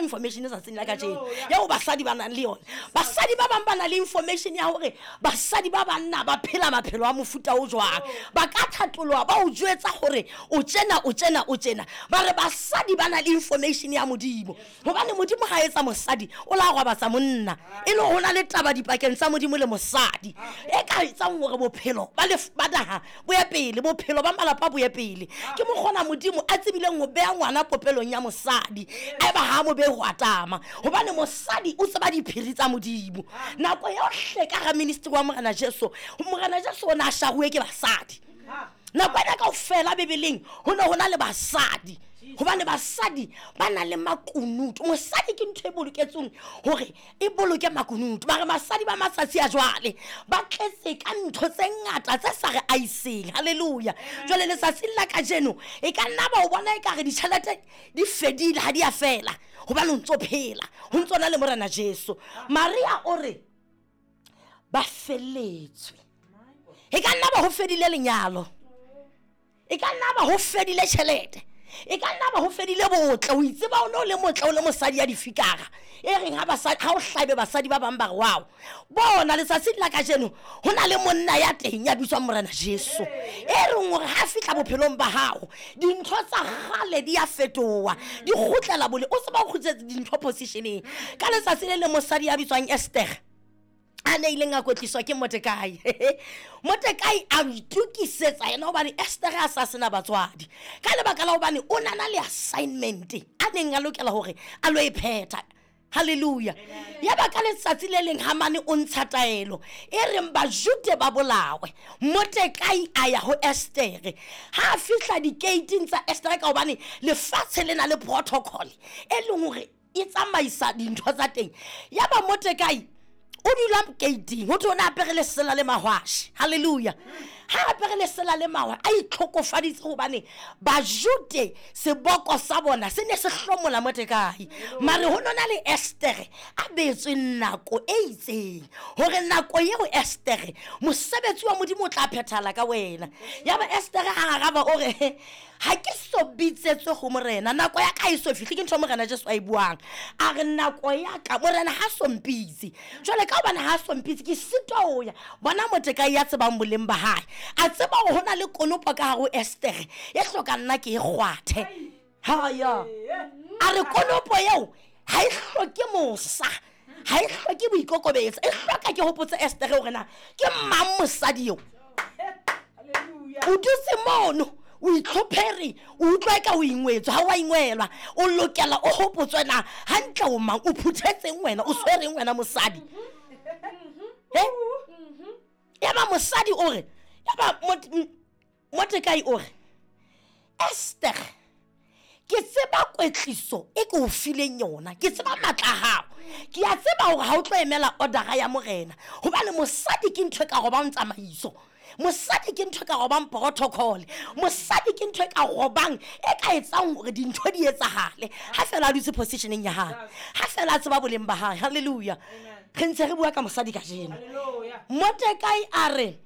information tsatsing la kajeno eo basadi ba nang le yona. Basadi ba bang ba na le information ya hore basadi ba banna ba phela maphelo a mofuta o jwang. Ba ka thatoloha ba o jwetsa hore o tjena, o tjena, o tjena. Ba re basadi ba na le information ya Modimo. Gobane Modimo ga etsa mosadi, o la gwabatsa monna. E le go na le taba dipakeng tsa Modimo le mosadi e ka etsang gore bophelo ba ba naga bo ye pele, bophelo ba malapa bo ye pele. Ke mokgona Modimo a tsebileng go beya ngwana popelong ya mosadi, a eba ga a mo beye go atama, gobane mosadi o tseba diphiri tsa Modimo. Nako yohle ka ga ministry wa Morena Jesu, Morena Jesu o ne a sharuwe ke basadi. Nako ena kaofela Bibeleng go ne go na le basadi, gobane basadi ba na le makunutu. Mosadi ke ntho e boloketsweng gore e boloke makunutu. Ba re basadi ba matsatsi a jwale ba tletse ka ntho tse ngata tse sa re aiseng. Halleluja. Jwale letsatsing la kajeno e ka nna ba o bona e ka re ditšhelete di fedile, ga di a fela, gobane o ntse o phela, go ntse o na le Morena Jesu. Maria o re ba felletswe. E ka nna ba go fedile lenyalo, e ka nna ba go fedile tšhelete, e ka nna ba go fedile botle. O itseba o ne o le motle, o le mosadi ya difikara e reng ga o hlabe basadi ba bang ba re wao. Bona letsatsing la kajeno go na le monna ya teng ya bitswang Morena Jesu, e reng gore ga fitlha bophelong ba gago dintho tsa gale di a fetoa, di kgutlela bole, o tseba o kgutletse dintho positioneng. Ka letsatsi le le mosadi ya bitswang Esther a ne ileng a kwetliswa ke Mordekai, Mordekai a itokisetsa yena gobane Esther a sa sena batswadi, ka lebaka la gobane o nana le assignment a neng a lokela gore a lo e phetha. Halleluja. Ya ba ka letsatsi le leng Hamane o ntsha taelo e reng Bajude ba bolawe. Mordekai a ya ho Estere. Ha a fihla dikeiting tsa Estere, ka gobane lefatshe le na le protocol e leng gore e tsamaisa dintho tsa teng. Ya ba Mordekai o dula keiting, ho thwe o ne apere lesela le mahwashe. Halleluja. Ha apere lesela le mahwa, a itlhokofaditse gobane Bajude seboko sa bona se ne se hlomola Mordekai. Mare ho nona le Estere a beetswe nako e itseng, gore nako eo Estere mosebetsi wa Modimo o tla phethala ka wena. Ya ba Estere a araba o re, ga ke so bitsetswe go Morena, nako ya ka e so fihle. Ke ntho Morena Jesu a e buang, a re nako ya ka Morena ha so mpitse. Jwale ka gobane ha so mpitse, ke sitwa ho ya. Bona Mordekai ya tsebang boleng ba hae, a tseba gore go na le konopo ka gare ho Estere e hloka nna ke e kgwathe. Haya, a re konopo eo ga e hloke mosa, ga e hloke boikokobetso, e hloka ke gopotse Estere gore na ke mang mosadi eo. O dutse mono o itlhophere, o utlwa e ka o ingwetswe, ga o a ingwelwa. O lokela o gopotswe na gantle o mang, o phuthetseng wena, o tshwereng wena mosadi. Ya ba mosadi o re, ya ba Mordekai o re, Esther, ke tseba kwetliso e ke o fileng yona, ke tseba matla a gago, ke a tseba gore ga o tlo emela ordera ya Morena, gobane mosadi ke ntho e ka gobang tsamaiso, mosadi ke ntho e ka gobang protocol, mosadi ke ntho e ka gobang e ka etsang gore dintho di etsagale ga fela a dutse positioneng ya gae, ga fela a tseba boleng ba gae. Halleluja. Re ntse re bua ka mosadi kajeno. Mordekai a re,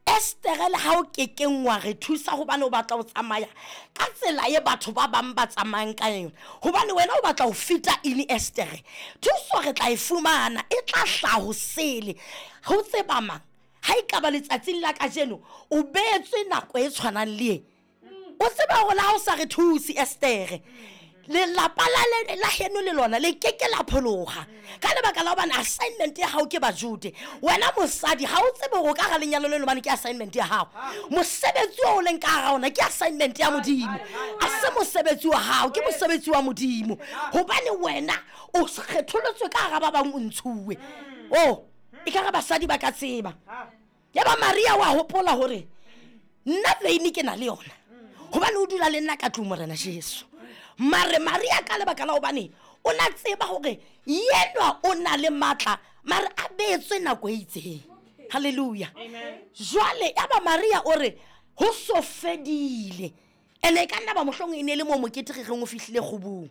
Estere, le ga o kekeng wa re thusa gobane o batla go tsamaya ka tsela e batho ba bangwe ba tsamayang ka yone, gobane wena o batla go feta eng? Estere, thuso re tla e fumana, e tla hlaha go sele. Go tseba mang ga e ka ba letsatsing la kajeno o beetswe nako e tshwanang le e? O tseba gore la o sa re thuse Estere, lelapa la heno le lona le keke la phologa, ka lebaka la gobane assignment ya gago ke Bajude. Wena mosadi ga o tsebe gore ka ga lenyalo le lobane ke assignment ya gago, mosebetsi o o leng ka gara ona ke assignment ya Modimo, a se mosebetsi wa gago, ke mosebetsi wa Modimo, gobane wena o kgetholotswe ka gara ba bangwe, o ntshuwe. O e ka re basadi ba ka tseba. Ya ba Maria wa gopola gore nna veine ke na le yona, gobane o dula le nna ka tlong Morena Jesu. Mare Maria ka lebaka la gobane o na tseba gore yenwa o na le maatla, mare a beetswe nako e itseng. Halleluja. Jwale ya ba Maria o re go so fedile, ene e ka nna ba mohlong e ne e le mo mokete re reng o fihlile kgobong.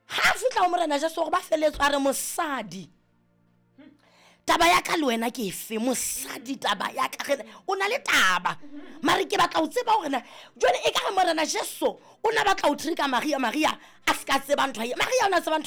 Ga a fitlha go Morena Jesu gore ba feletswe, a re mosadi, taba ya ka le wena ke efe? Mosadi, taba ya ka re o na le taba, mare ke batla go tseba gore na jale e ka re Morena Jesu o na batla go trika Maria, Maria a se ka tseba ntho ye. Maria o na tseba ntho.